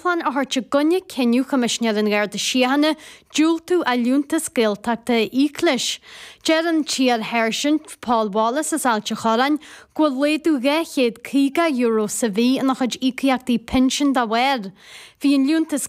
dúshlán a thabhairt i gcoinne cinneadh Choimisinéir an Gharda Síochána diúltú a liúntas Gaeltachta a íoc leis. Deir an t-iar-sháirsint Paul Wallace as Ailt a' Chorráin go bhfuil laghdú €250 sa mhí ina chuid íocaíochtaí pinsin dá bharr. Bhí an liúntas.